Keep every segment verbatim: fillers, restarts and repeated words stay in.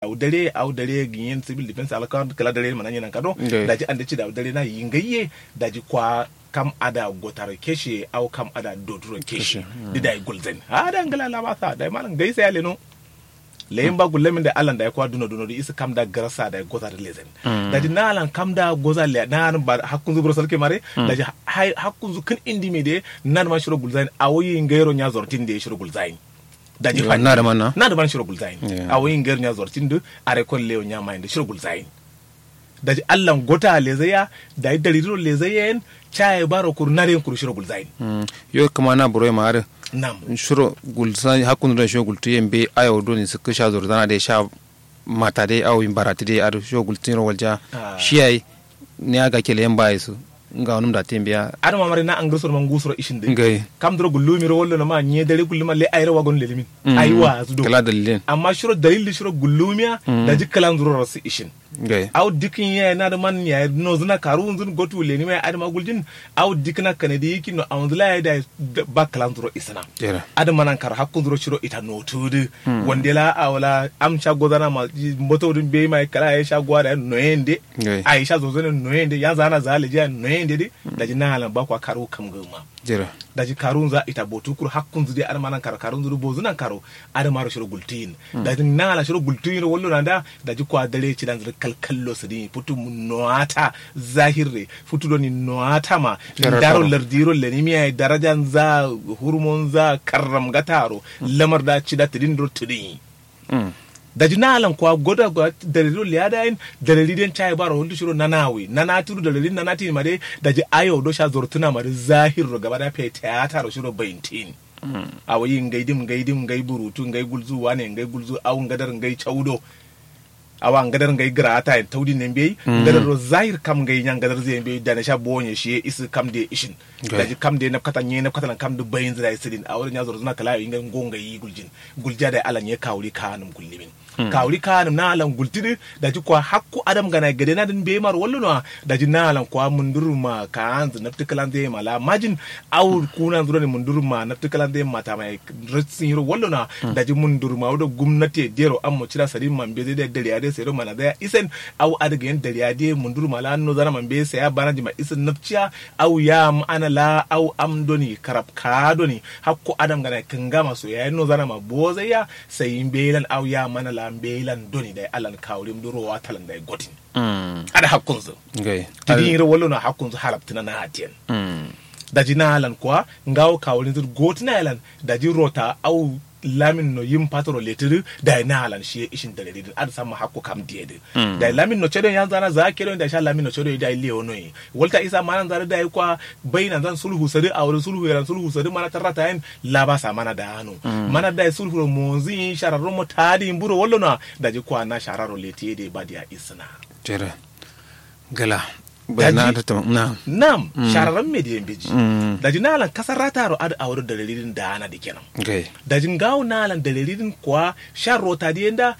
awo dare awo dare gǝnyen civil defence alakawar kǝla dare mananye nankado. Daji ande cida awo dare na yingaiye. Daji kwa kam ada gotaro keshe awo kam ada doturo keshe. Dǝ dayi gulzain ada ngla lama sa dayi malam gaisa ya leno. Leyin ba gullamin da allan dayi kwa duno duno dǝ isa kam da garasa dayi goza dǝ lezain. Daji na allan kam da goza le na allan ba hakkunzu buro salke mare. Daji hakkunzu kǝn indi me de. Nan ma shiro gulzain awo yingairo nya zortin de shiro gulzain. Daji fani na dǝ man shiro gulzain. Awo yingairo nya zortin dǝ are kon leyo nya mayin dǝ shiro gulzain. Daji allan gota lezaiya. Dayi daridiro lezaiya yen caye baro kuru naren kuru shiro gulzain. Yo kǝma na buro ye ma adǝ nam shiro gulzain hakkunzu done shiro gultu ye mbe ayo done sǝkkǝ sha zoro zana de sha mata de awo yin baratu de adǝ shiro gultu nyiro walja. Shi yayi niya gakele yen ba ye su ngawo nǝm date mbiya adǝ ma mare na angǝr soro ma ngusuro ishin dǝ. Kam duro gullumi ro wallo no ma nye dare gulluma le ayiro wagon lelimin. Ayi wa azu do kǝla dalilin amma shiro dalil dǝ shiro gullumiya. Daji kǝlan zuro rasu ishin. Awo dikkin yayi nadǝ man yayi nozǝna karuwunzǝn gotu lenima yayi adǝma guljin. Awo dikkina kanadi yikkin no awonzǝ la yayi dayi ba kǝlan zuro isǝna. Adǝma nan karo hakkunzuro shiro ita notudǝ wande la awo la am sha gozana ma mboto dǝ mbeyi ma kǝla yayi sha gowa dayi noyen de. Ayi sha zozone noyen de yanzǝ ana za lejiya noyen de dǝ. Daji na alan ba kwa karuwu kamgǝma. Daji karuwunza ita botu kuru hakkunzǝ de adǝma nan karo karuwunzǝ dǝ bozǝ nan karo. Adǝmaro shiro gultuyin. Daji na alan shiro gultuyin ro wallo nanda. Daji kwa dare cidanzǝ dǝ kalkallo sǝdǝnyi futu nowata. Zahirre futu doni nowata ma. Ndaro lardiro lenimiya ye darajanza hurumonza karramgataro. Lamar da cida tǝdin duro tǝdinyi. Daji na alan kwa goda kwa dalili ro leya dayin dalili den cayi baro waltu shiro nanawi nanati ro dalili nanati ma dai. Daji ayo do sha zortuna ma dai zahir ro gaba da fe tiyata ro shiro baintin. Awo yi ngai dim ngai dim ngai burutu ngai gulzu wane ngai gulzu awo ngadar ngai caudo. Awa ngadar ngai gǝra'ata yen taudin ne mbeyi. Ngadar ro zahir kam ngai nya ngadar zǝ ye mbeyi dane sha bonye shiye isǝ kam diye ishin. Daji kam diye nabkata nye nabkata lan kam dǝ bayinzǝ dayi sǝdin awo dǝ nya zorzǝna kǝla yo yi ngai ngo ngai yi guljin. Guljiya dayi alan nye kawuri kaanǝm gullimin. Kawuri kaanǝm na alan gultǝ dǝ. Daji kwa hakku adam gana gade na dǝn mbeyi maro wallono wa. Daji na alan kwa munduruma kaanzǝ nabtǝ kǝlanzǝ ye ma la majin. Awo kunanzǝ done munduruma nabtǝ kǝlanzǝ ye ma tama ye. Ratsin yiro wallono wa. Daji munduruma wudo gumnati ye dero ammo cida sadin ma mbezai dai dariya dai sairo manazai ya isen. Awo adǝ gayen dariya dai munduruma la nozana ma mbezai saya banajin ma isen nabciya. Awo yam ana la awo am doni karabka doni hakku adam gana kǝngama so yayi nozana ma bozai ya. Sai mbeyilan awo yam ana la mbeyilan doni dai alan kawurim duro watalan dai gotin. Adǝ hakkunzǝ. Tidin yiro wallono wa hakkunzǝ halabtǝna na atiyen. Daji na alan kwa ngawo kawurinzǝ dǝ gotǝna ye lan. Daji rota awo lamin no yim fatoro letǝ dǝ. Dayi na alan shiye ishin dalili dǝn adǝ samma hakku kam diye dǝ. Dayi lamin no cedo yanzana za kedo dayi sha lamin no cedo dayi lewo no ye. Walta isa mananza dǝ dayi kwa bainanzan sulhu sadǝ awo dǝ sulhu ye lan sulhu sadǝ mana tarrata yen. Labasa mana dano mana dayi sulhu ro monzǝ ye shararro mo tadǝ ye mburo wallono wa. Daji kwa na shararo letǝ ye dǝ ye badiya isǝna. Gala. Nam. Shararran me diye mbeji. Daji na alan kasarrataro adǝ awo dǝ dalili dǝn dana dǝ kenan. Daji ngawo na alan dalili dǝn kwa sha rota diye nda.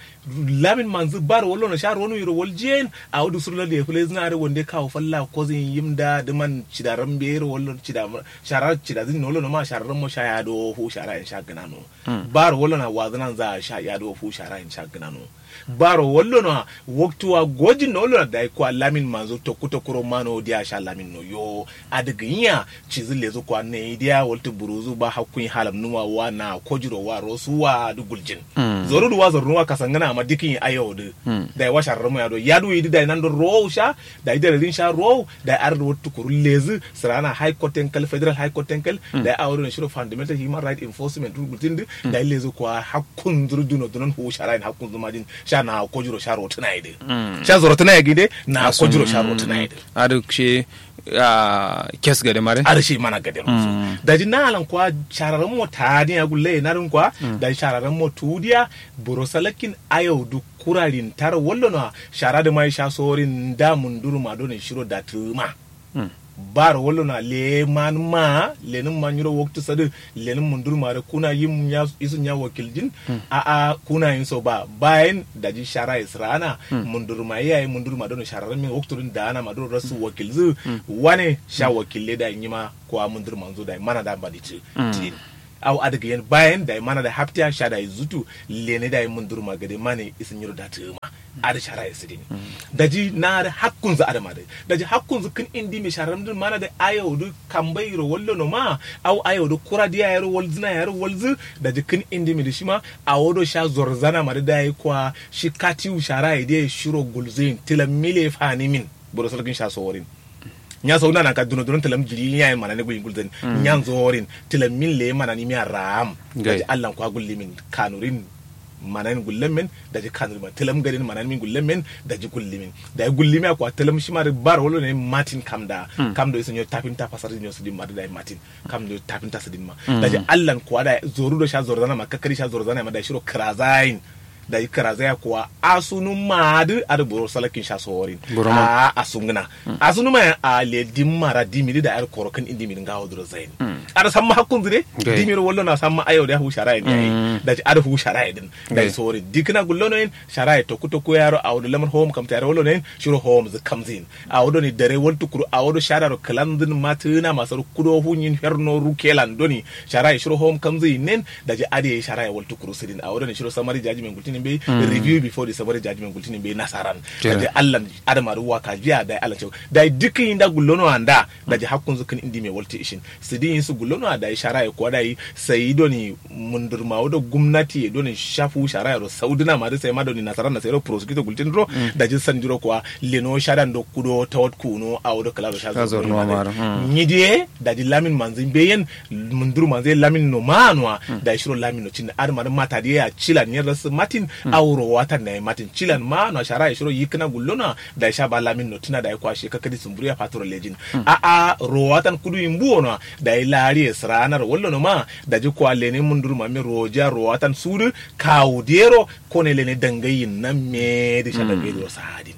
Lamin manzǝ baro wallono sha ronu yiro waljiyen. Awo dǝ suro ladde ye fǝlezǝna dǝ wande kawo falla kozǝ yen yim nda dǝ man cidaran mbeyero wallono cida. Sharar cidazǝn no wallono ma shararran mo sha yado fu shara yen sha gǝnano. Baro wallono wa wazǝnanza sha yado fu shara yen sha gǝnano. Baro wallono wa waktu wa gojin no wallono dayi kwa lamin manzo tokku tokkuro mano diya sha lamin no yo. Adǝ gǝnyi ya. Cizǝ lezǝ kwa nayi diya waltǝ buruzu ba hakkuyi halamnuma wa na kojiro wa rosu wa dǝ guljin. Zoru dǝ wa zornu wa kasangǝna amma dikǝnyi ayo dǝ. Dayi wa shararmu ya do yadu yi dǝ dayi nando rowu sha. Dayi dalilin sha rowu. Dayi adǝ dǝ wattu kuru lezǝ sǝrana high court ten kal federal high court ten kal. Dayi awo dǝ no shiro fundamental human right enforcement dǝ gultin dǝ. Dayi lezǝ kwa hakkunzǝ dǝ duno dunon fu sharayin hakkunzǝ majin. Sha na kojiro sha rotǝna ye dǝ. Sha zorotǝna ye gǝyi dǝ. Na kojiro sha rotǝna ye dǝ. Adǝ shi kes gade mare. Adǝ shi mana gade ro. Daji na alan kwa shararran mo tadin ya gulle ye nadǝn kwa. Daji shararran mo tudiya. Buro salakkin ayau dǝ kurarin taro wallono wa. Shara dǝ ma ye sha sorin nda munduruma done shiro datǝma. Baro wallono wa leman ma. Lenǝm ma nyiro waktu sadǝ. Lenǝm munduruma dǝ kuna yim nya isu nya wakiljin. A'a kuna yin so ba bayin daji shara ye sǝrana. Munduruma ye yayi munduruma done shararran min waktu dǝn dana ma done rasu wakilzǝ. Wane sha wakille dayi nyima. Kwa mundur manzo dayi mana da mbadi ti tin. Awo adǝ gǝyen bayen dayi mana dayi haptiya sha dayi zutu. Lene dayi munduruma gade mane isǝ nyiro datǝgǝma. Adǝ sharaye sǝdin. Daji na adǝ hakkunzǝ adǝ ma dǝ. Daji hakkunzǝ kǝn indime sharamdǝn mana dǝ. Ayau dǝ kambairo wallono ma. Awo ayau dǝ kura diya yaro walzǝna yaro walzǝ. Daji kǝn indime dǝ shima. Awo do sha zorzana ma dǝ dayi kwa shi katiwu sharaye diye shiro gulzǝyin tǝlammile fanimin. Buro salgǝn sha soworin. Nya sauna nanka duno duno tǝlam jiri nya yen manani guyin gulzǝn. Nya nzorin tǝlam min leye manani miya raam. Daji allan kwa gullimin kanurin. Mananin gullemmen. Daji kanurin ma tǝlam gadin manani min gullemmen. Daji gullimin dayi gullimiya kwa tǝlam shima dǝ baro wallo ne matin kamda. Kamdo iso nyo tapin ta fasar nyo sǝdin ma dǝ dayi matin. Kamdo tapin ta sǝdin ma. Daji allan kwa dayi zoru do sha zorzana ma kakkari sha zorzana ma dayi shiro kǝrazayin. Dayi kǝrazaya kuwa asunuma adǝ adǝ buro salakkin sha soworin. Buro ma. A'a asungǝna. Asunuma ya a le dimma ra dimi dǝ dayi adǝ koro kǝn indimi dǝ ngawo duro zayin. Adǝ samma hakkunzǝ de. Dimiro wallo na samma ayau de fu sharaye dǝ yayi. Daji adǝ fu sharaye dǝn. Dayi soworin dikǝna gullono yen. Sharaye tokku tokku yaro awo dǝ lamar howom kamta yaro wallo no yen. Shiro howomzǝ kamzǝ yin. Awo doni dare waltu kuru awo do shadaro kǝlanzǝn matǝna masar kudo funyin ferno rukelan doni. Sharaye shiro howom kamzǝ yin nen. Daji adǝ yayi sharaye waltu kuru sǝdin awo doni shiro samari jaji men gultinin bai. Review before the samari jaji men gultinin bai nasaran. Daji allan adǝ ma dǝ waka jiya dayi allan cewu dayi dukkin yinda gullono anda. Daji hakkunzǝ kǝn indime waltu ishin. Sǝdin yin sǝ gullono a dayi sharaye kuwa dayi. Sayi doni mundurma wo do gumnati ye doni sha fu sharaye ro saudǝna ma dǝ sai ma doni nasaran na sai ro prosecutor gultin duro. Daji sandiro kuwa leno shadan do kudo tawat kuno awo do kǝla do sha. Nyi diye. Daji lamin manzǝ mbeyen. Mundurma nzǝ ye lamin no ma nowa. Dayi shiro lamin no cinna adǝ ma dǝ mata diye ya cilan yen rasǝ matin. Awo rowatan na ye matin cilan ma nowa sharaye shiro yikkǝna gullono a. Dayi sha ba lamin no tǝna dayi kwa shi kakkadi sǝmburiya fatoro lejin. A'a rowatan kudu yin buwo nowa. Dayi lariye sǝranaro wallono ma. Daji kwa lene mundurma me rojiya rowatan sudu. Kawu dero. Kone lene dangai yin nan me dǝ sha dangai dǝ ro sa'adin.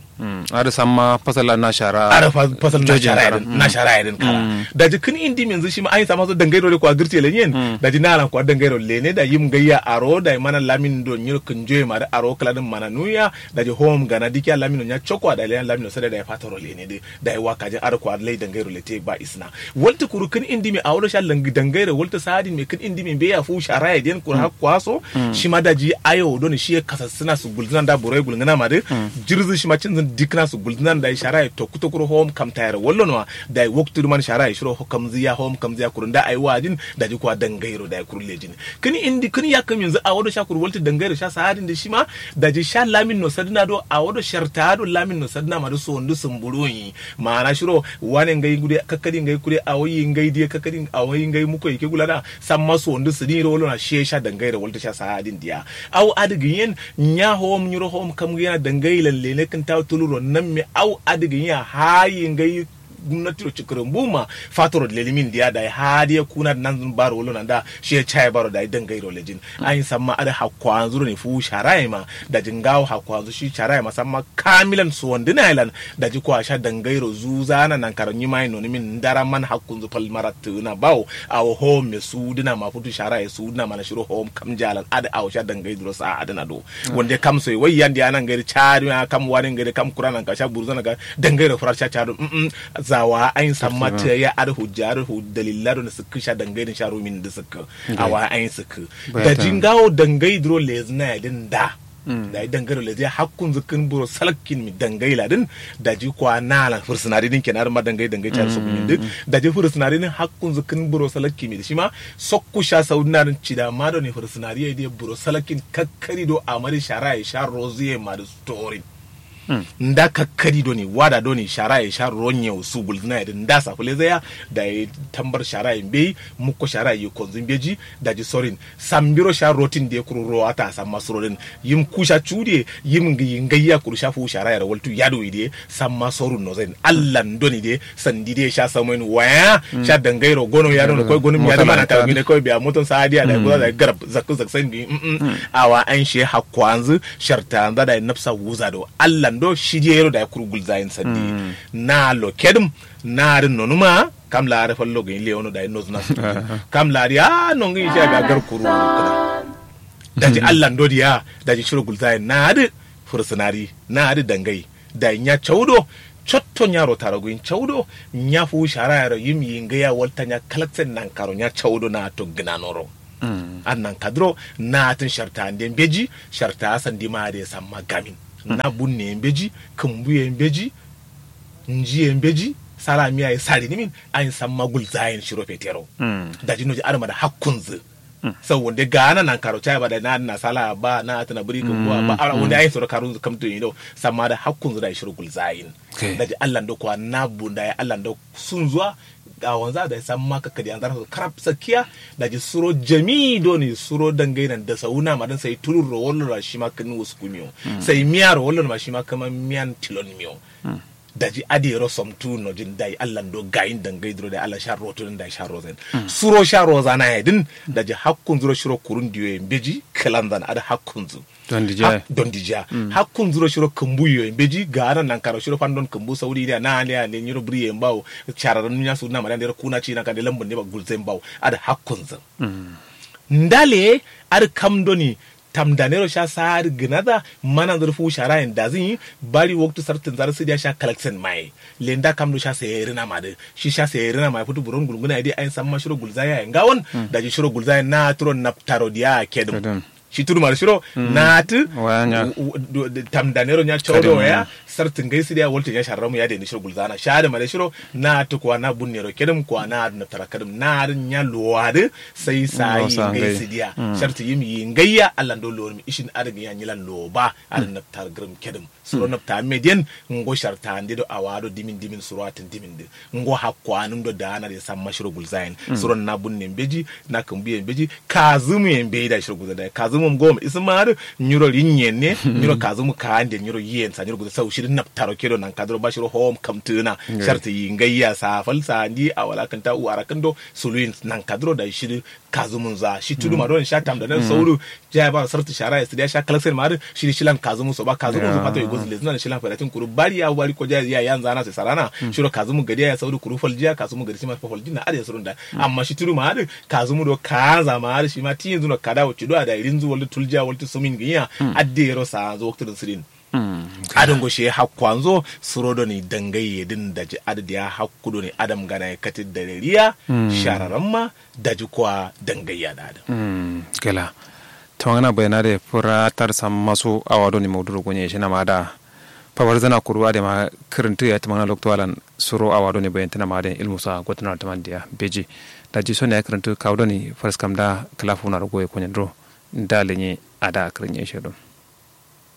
Adǝ samma fasalla na shara. Adǝ fasalla na shara yadǝn kara. Daji kǝn indi minzǝ shima ayin samma so dangai dǝ ro dǝ kwa gǝrce lenyen. Daji nalan kwa dangai dǝ ro lene dayi yim ngai ya aro dayi mana lamin do nyiro kǝnjoye ma dǝ aro kǝla dǝn mana nuya. Daji howom gana dikiya lamin do nya cokko a dayi lene lamin do sade dayi fatoro lene dǝ. Dayi wakajin adǝ kwa lai dangairo lete ba isna. Waltǝ kuru kǝn indime awo do sha dangairo waltǝ sa'adin me kǝn indime mbeya fu sharaye diyen kuru hakko aso. Shima daji ayo done shiye kasassǝna sǝ gulzǝna nda buro ye gulngǝna ma dǝ. Jirzǝ shima cinzǝn dikkǝna sǝ gulzǝna nda ye sharaye tokku tokkuro howom kamtayero wallono wa. Dayi waktu dǝman sharaye shiro kamzǝya howom kamzǝya kuru nda ayi wa'ajin. Daji kwa dangairo dayi kuru lejin. Kǝn indi kǝn yakkǝ minzǝ awo do sha kuru waltǝ dangairo sha sa'adin dǝ shima. Daji sha lamin no sadǝna do awo do sharta'a do lamin no sadǝna ma dǝ sowondu sǝmbuluwun yi. Ma'ana shiro wane ngai gude kakkadi ngai kude awo yi ngai diye kakkadi awo yi ngai mukko yi ke gulana. Samma sowondu sǝdin yiro walona shiye sha dangairo waltǝ sha sa'adin diya. Awo adǝ gǝnyen. Nya howom nyiro howom kam gǝyena dangai lan lene kǝntawo tuluro namme awo adǝ gǝnyea hayi ngai. Gumnatiro cǝkkǝrǝmbuma fatoro lelimin diya dayi hadiye kuna dǝ nanzǝn baro walona nda. Shiye caye baro dayi dangairo lejin. Ayin samma adǝ hakkowanzuro ne fuwu sharaye ma. Daji ngawo hakkowanzu shi sharaye ma samma kamilan suwandǝna ye lan. Daji kwa sha dangairo zuzana nankaro nyimaye nonimin ndara man hakkunzu fal marattǝgǝna bawo. Awo howom me suwudǝna ma futu sharaye suwudǝna ma na shiro howom kamja lan adǝ awo sha dangai duro sa'adǝna do. Wande kam soyi wai yande ana ngai dǝ ca'adǝ ma kam wane ngai dǝ kam kura nanka sha buruzana ga. Dangairo fura sha ca'adǝ. Zawa ayin samma tǝya adǝ hujja adǝ dalilla do nǝ sǝkkǝ sha dangai dǝn sha rumin dǝ sǝkkǝ. Awa ayin sǝkkǝ. Daji ngawo dangai duro lezǝna ye dǝn nda. Dayi dangairo lezǝ ye hakkunzǝ kǝn buro salakkin mi dangai la dǝn. Daji kwa nalan fǝrsǝnari dǝn kena dǝn ma dangai dangai ca'adǝ sokkumin dǝ. Daji fǝrsǝnari dǝn hakkunzǝ kǝn buro salakkin mi dǝ shima. Sokku sha saudǝna dǝn cida ma done fǝrsǝnari ye diye buro salakkin kakkari do amari sharaye sha rozǝ ye ma dǝ storin. Nda kakkadi doni wada doni sharaye sha ronye usu gulzǝna ye dǝ nda safulezaya. Dayi tambar sharaye mbeyi mukko sharaye yikonzǝ mbeji. Daji sorin sambiro sha rotin diye kuru rowata samma surodin. Yim kusha cudiye yim ngiyi ngaiya kuru sha fuwu sharaye ro waltu yaduwi diye. Samma sorun nozain allan doni diye. Sandi diye sha samoyin waya. Sha dangairo gono ya dono koi gonum ya dǝ mana kara gine koi biya moton sa'adiya dayi guza dayi garab zakku zaksain bi. Awa ayin shiye hakkowanzǝ. Shartaanza dayi nabsa wuza do allan do shidiye yero dayi kuru gulzayin sandi. Na lokedǝm na adǝ nonuma. Kam la adǝ fallo gǝnyi lewono dayi nozǝna sǝ kam la adǝ ya nongǝnyi shiya biya gar kuru kǝna. Daji allan do diya daji shiro gulzayin na adǝ. Fǝrsǝnari na adǝ dangai. Dayi nya cawudo cotto nya rotaro gǝnyi cawudo. Nya fuwu sharayero yim yingaiya walta nya kalaksen nankaro nya cawudo na adǝ to gǝnanoro. Adǝ nankadǝro na atǝn sharta ande mbeji. Sharta sandima adǝ ye samma gamin. Na bunne ye mbeji, kǝmbu ye mbeji, nji ye mbeji, sala miya ye sari nimin. Ayin samma gulzayin shiro fetero. Daji noji adǝ mada hakkunzǝ. Sau wande gana nankaro chai ba da na adǝ na sala ba na atǝna bǝri kǝmbu ba ala wande ayin soro karunzǝ kamtu yindo. Samma da hakkunzǝ da shiro gulzayin. Daji allando kwa na bunda ye allando sunzuwa. Awanza da samma kakkadi anzara so karab sakkiya. Daji suro jami doni suro dangai nan da sauna madan sai tulur ro wallo ra shima kǝnin wuskumiyo. Sai miya ro wallo ma shima kama miyan tilon miyo. Daji adǝ yero somtu nojin dai allando gayin dangai duro dai allah sha rotu din dai sha rozain. Suro sha rozana ye din. Daji hakkunzuro shiro kurun diyo ye mbeji kǝlanzan adǝ hakkunzu. Don dija. Don dija. Hakkunzuro shiro kǝmbu yo mbeji gana nankaro shiro fandon kǝmbu saudi idiya na ande ande nyiro bǝri ye mbawo. Shararran nya su na mada ndero kuna ci na kande lambun ne ba gulzai mbawo. Adǝ hakkunzu. Ndale adǝ kam doni tamdanero sha sa adǝ gǝnada. Mana nzǝr fu shara yen dazǝnyi. Bari waktu sartǝn zarǝ sǝdiya sha kalaksen maye. Lenda kam do sha saye rǝna madǝ. Shi sha saye rǝna maye futu buron gulguna ye dai ayin samma shiro gulzaya ye ngawon. Daji shiro gulzaya na turo naptaro diya kedǝm. Shi tudu mari shiro na atǝ. Tamdanero nya chaudo ya. Sartǝ ngai sǝdiya waltǝ nya sharramu ya dai ni shiro gulzana sha adǝ mari shiro. Na atǝ kuwa na bunnero kedǝm kuwa na adǝ naptara kedǝm na adǝ nya luwadǝ. Sai sayi ngai sǝdiya. Shartǝ yim yi ngaiya allan do luwar mi ishin adǝ gǝnya nyilan luwo ba. Adǝ naptar gǝrǝm kedǝm. Suro napta median. Ngo sharta ande do awa do dimin dimin suro atǝn dimin dǝ. Ngo hakko anǝm do daana dǝ samma shiro gulzayin. Suro na bunne mbeji. Na kǝmbu ye mbeji. Kazǝmu ye mbeji da shiro gulzayin da kazǝmu ngo isǝma adǝ. Nyiro rinyen ne. Nyiro kazǝmu ka ande nyiro yen sa nyiro gulzayin sau shiri naptaro kedo nankadǝro ba shiro hom kamtǝna. Shartǝ yi ngaiya sa fal sa ndi awala kǝnta u arakǝn do. Suluyin nankadǝro da shiri. Kazumun za shi tudu ma don sha tamda nan sauru. Jaya ba sartu shara ya sidiya sha kalaksen ma adǝ. Shiri shilan kazumun so ba kazumun zu fato yugo zule zuna shilan fadatin kuru bari ya bari ko jaya ya yanza na sai sarana. Shiro kazumun gadiya ya sauru kuru faljiya kazumun gadi shima fa faljin na adǝ ya surun da. Amma shi tudu ma adǝ kazumun do kaza ma adǝ shima tiyin zuno kada wacce do ada irin zu waltu tuljiya waltu sumin ginya. Adde yero sa zu waktu din sirin. Adǝ ngo shiye hakkuwanzo suro doni dangai ye dǝn daji adǝ diya hakku doni adam gana ye katǝ daliliya. Shararamma daji kuwa dangai ya da adǝ. Kela. Tǝmangǝna bayanade fǝra tar sammaso awa doni mauduro gonye shinama da. Fabarzana kuru adǝ ma kǝrǝntǝ ya tǝmangǝna loktu alan suro awa doni bayantǝnama adǝ ilmusa gotǝna tǝmandiya beji. Daji sone ya kǝrǝntǝ kawu doni faraskam da kǝla funa rogo ye konyanduro. Nda lenye ada kǝrǝnye shedon.